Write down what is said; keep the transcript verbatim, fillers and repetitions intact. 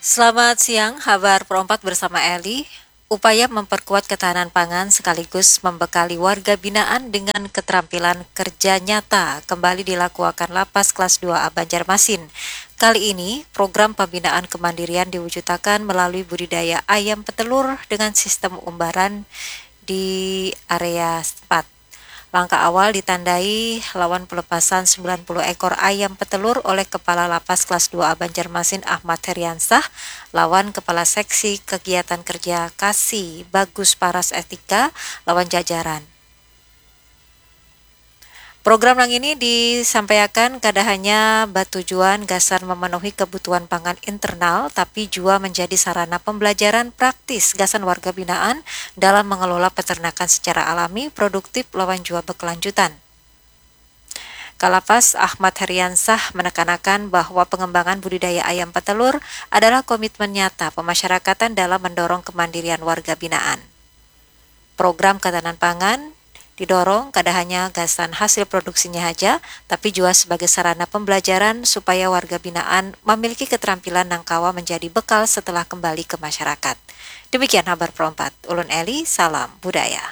Selamat siang, Habar Pro empat bersama Eli. Upaya memperkuat ketahanan pangan sekaligus membekali warga binaan dengan keterampilan kerja nyata kembali dilakuakan Lapas Kelas dua A Banjarmasin. Kali ini, program pembinaan kemandirian diwujudakan melalui budidaya ayam petelur dengan sistem umbaran di area setempat. Langkah awal ditandai lawan pelepasan sembilan puluh ekor ayam petelur oleh Kepala Lapas Kelas dua A Banjarmasin Ahmad Heriansah lawan Kepala Seksi Kegiatan Kerja Kasi Bagus Paras Etika lawan jajaran. Program nang ini disampaiakan kada hanya batujuan gasan memenuhi kebutuhan pangan internal, tapi jua menjadi sarana pembelajaran praktis gasan warga binaan dalam mengelola peternakan secara alami, produktif, lawan jua berkelanjutan. Kalapas Ahmad Heriansah menekanakan bahwa pengembangan budidaya ayam petelur adalah komitmen nyata pemasyarakatan dalam mendorong kemandirian warga binaan. Program ketahanan pangan didorong kada hanya gasan hasil produksinya haja, tapi jua sebagai sarana pembelajaran supaya warga binaan mamiliki keterampilan nang kawa menjadi bekal setelah kembali ke masyarakat. Demikian Habar Pro empat. Ulun Eli, salam budaya.